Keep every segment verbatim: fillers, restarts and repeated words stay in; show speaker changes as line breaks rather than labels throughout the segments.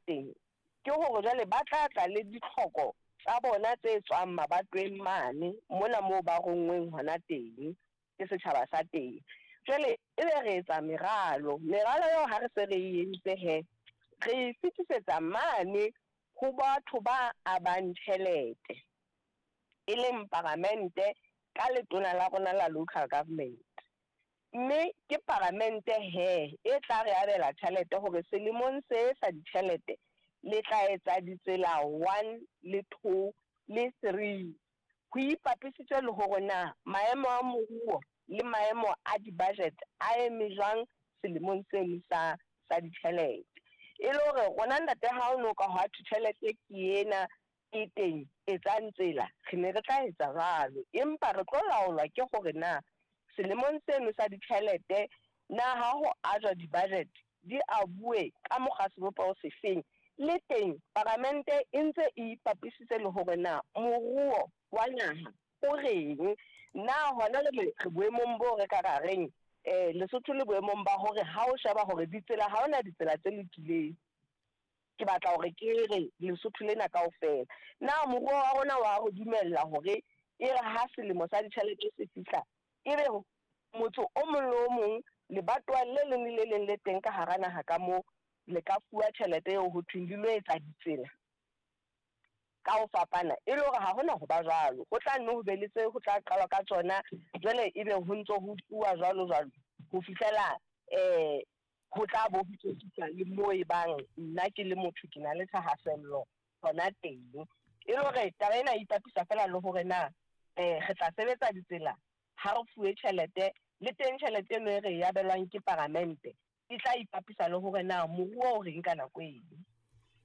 teng ke hore jwale ba tla tla le ditlhoko tsa bona tse tswang mabatoweng mane mona moo ba ronngweng hona teng ke setjhaba sa teng. Jwale ebe re etsa meralo, meralo eo ha re se re e entse he, re e fetisetsa mane ho batho ba abang tjhelete, e leng paramente ka letona la rona la local government. Mme ke paramente he e tla re abela tjhelete hore selemong se sa ditjhelete le tla etsa ditsela one le two le three. Ho ipapisitswe le hore na maemo a moruo le maemo a di-budget a eme jwang selemong seno sa sa ditjhelete. E le hore rona ntate ha o no ka hwa thwe tjhelete ke ena e teng etsang tsela, re ne re tla etsa jwalo, empa re tlo laolwa ke hore na selemong seno sa ditjhelete na ha ho ajwa di-budget di abuwe ka mokgwa sebopeho sefeng. Le teng paramente e ntse e ipapisitse le hore na moruo wa naha o reng, na hona jwale re boemong bo re ka ra reng eh Lesotho le boemong ba hore ha o sheba hore ditsela ha hona ditsela tse lokileng. Ke batla hore ke re Lesotho lena kaofela na moruo wa rona wa ho dumella hore e re ha selemo sa ditjhelete se fihla ebe motho o mong le o mong lebatowa le leng le le leng le teng ka hara naha ka moo le ka fuwa tjhelete eo ho thweng di lo etsa ditsela ka ho fapana. E le hore ha hona ho ba jwalo, ho tla nne ho be le tse ho tla qalwa ka tsona jwale ebe ho ntso ho fuwa jwalo jwalo ho fihlela eh ho tla bo ho fihla le moo e bang nna ke le motho ke na le thahasello hona teng. E le hore taba ena e ipapisa fela le hore na eh re tla sebetsa ditsela ha re fuwe tjhelete, le teng tjhelete eno e re e abelwang ke paramente e tla ipapisa le hore na moruo o reng ka nako eno.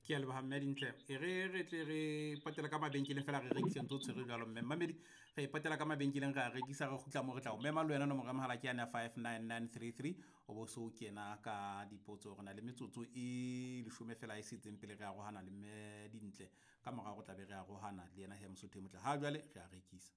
Ke a leboha mme Dintle. E re re tle re patela ka mabenkeleng fela re rekise ntse o tshwere jwalo mme mamedi re patela ka mabenkeleng re a rekisa re kgutla mo re tla o mema le wena nomoro ya mohala ke yane ya five nine nine three three o bo so kena ka dipotso. Re na le metsotso e leshome fela e setseng pele re arohana le mme Dintle, ka morao re tla be re arohana le yena he Mosotho e motle. Ha jwale re a rekisa.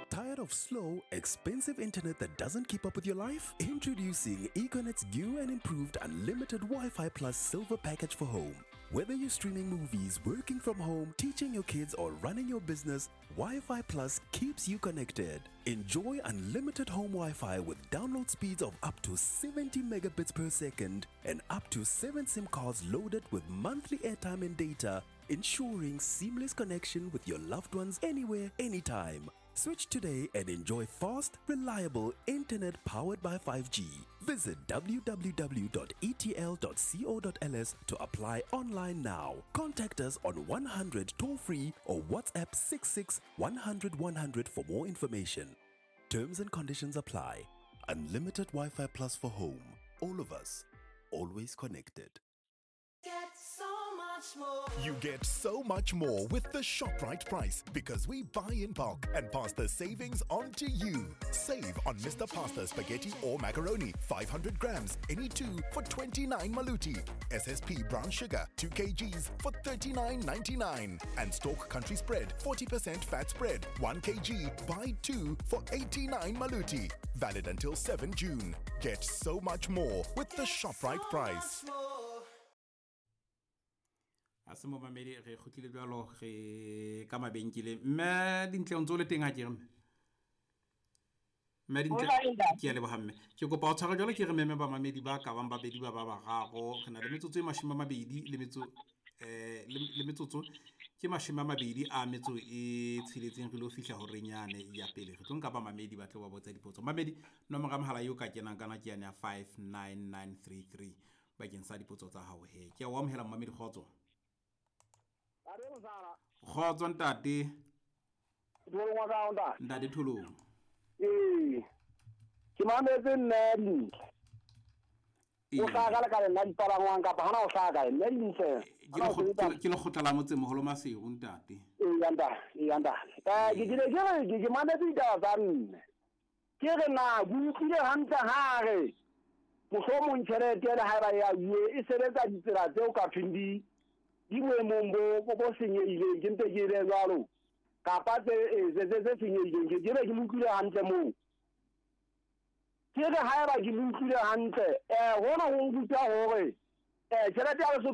Tired of slow, expensive internet that doesn't keep up with your life? Introducing Econet's new and improved unlimited Wi-Fi Plus Silver Package for home. Whether you're streaming movies, working from home, teaching your kids, or running your business, Wi-Fi Plus keeps you connected. Enjoy unlimited home Wi-Fi with download speeds of up to seventy megabits per second and up to seven SIM cards loaded with monthly airtime and data, ensuring seamless connection with your loved ones anywhere, anytime. Switch today and enjoy fast, reliable internet powered by five G. Visit w w w dot e t l dot co dot l s to apply online now. Contact us on one hundred toll free or WhatsApp six six one hundred one hundred for more information. Terms and conditions apply. Unlimited Wi-Fi Plus for home. All of us, always connected.
Get so much more.
You get so much more with the ShopRite price because we buy in bulk and pass the savings on to you. Save on Mister Pasta spaghetti or macaroni, five hundred grams, any two for twenty-nine maluti. S S P brown sugar, two kilograms for thirty-nine ninety-nine. And Stork Country Spread, forty percent fat spread, one kilogram, buy two for eighty-nine maluti. Valid until seventh June. Get so much more with the
Get
ShopRite
so
price.
much more.
A se mo mamedi re kgutlile jwalo re ka mabenkeleng. Mme Dintle o ntse o le teng ha ke re mme? Mme Dintle, ke a leboha mme. Ke kopa ho tshwara jwalo ke re meme ba mamedi ba ka bang babedi ba ba bararo. Re na le metsotso e mashome a mabedi le metso, eh, le, le metsotso ke mashome a mabedi a metso e tsheletseng re lo fihla horeng yane ya pele. Re tlo nka ba mamedi ba tlo ba botsa dipotso. Mamedi, nomoro ya mohala eo ka kenang kana ke yane ya five nine nine three three bakeng sa dipotso tsa hao he. Ke a o amohela mamedi, kgotso. Kgotso ntate. Ntate Tholong.
Ee. Ke mametse nna Dintle. O hlaha ka lekaleng la dipalangwang kapa hana o hlaha kae? Nna Dintle.
Ke lekgotla, ke lekgotla la motsemoholo Maseru ntate.
Ee, ntate, ee, ntate. Eh, ke ke ke re, ke mametse ditaba tsa mme. Ke re na ke utlwile hantle ha re mohlomong tjhelete le haeba ya bue e sebetsa ditsela tseo ka thweng di di boemong bo, bo, bo senyehileng, ke mpe ke be jwalo. Kapa tse, eh, tse, tse, tse senyehileng, ke, ke be ke mo utlwile hantle moo. Ke re haeba ke mo utlwile hantle, eh, hona ho nruta hore, eh, tjhelete ya Lesotho